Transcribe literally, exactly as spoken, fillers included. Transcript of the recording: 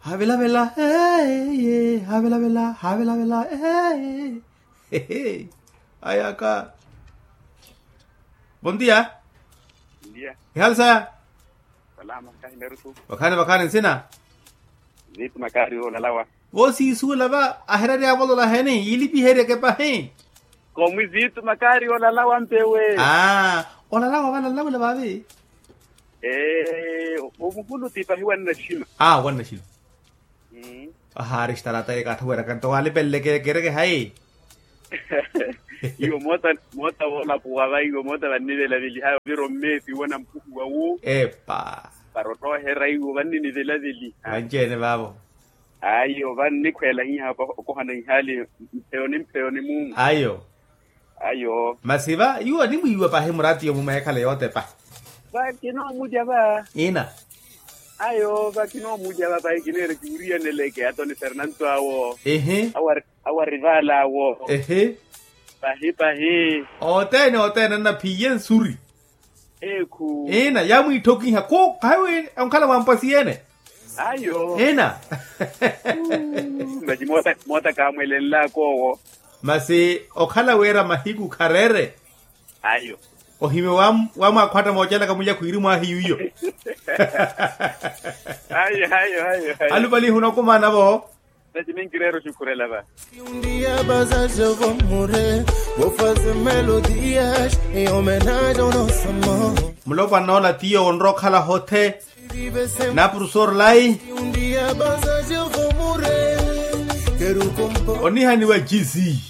Havelavela ee havelavela havelavela ee. Ayaka. Bondia. Ihali saya. Vakhani vakhani nsina. Ziitu makaari olalawa. Voosiisuula va ahererya avolola heni yiilipiheryeke pahi. Komwi ziitu makaari olalawa mpewe. Aa. Olalawa valalaula vavi. Ee. Omuhulu ti pahi wannaxima. Aa wannaxima. Ahaari xtarata ekattha weeraka nto waalipeleleke kereke hayi. Iwo moota moota woolapuwa va iwo moota vannivelaveliha viro mmeesi wona mpuhuwa wu. Epa. Para ottooherya iwo vanninivelaveliha vanci-ene vaavo. Ayo vannikhweelahiha okohana ihaali. Mpheyoni mpheyoni mumu ayo. Ayo. Masi va yuwo animwiiwa pahi muraatiyo mumweekhale yootepa. Va kinoomulya va. Ina. Ayo va kinoomulya va pahi kineera kiwiriyaneleke atoni fernanto awo. Ehe. Awo ari vaal'awo. Ehe. Pahi pahi. Othene othene annaphiye nsuri. Ekhu ina yaamwiitthokiha khukahiwi onkhala mwampwasiyene. Ayo ina. Masi moota kaamwelenlaka owo. Masi okhala wira mahiku khareere. Ayo. Ohimya wamwaakhwatta moocelaka mulya khwiiri mwahiyu iyo. Ayo ayo ayo. Alupalihi onokumaana vo. Nati ninkireera oxukhurela va. Dia bazazi vo mure vo faze melodias e homenage ao nosso amor. Mulopwana ola tiyo onrookhala hothe. Na profesor lai. Dia bazazi vo mure quero compor onihaniwa jisi.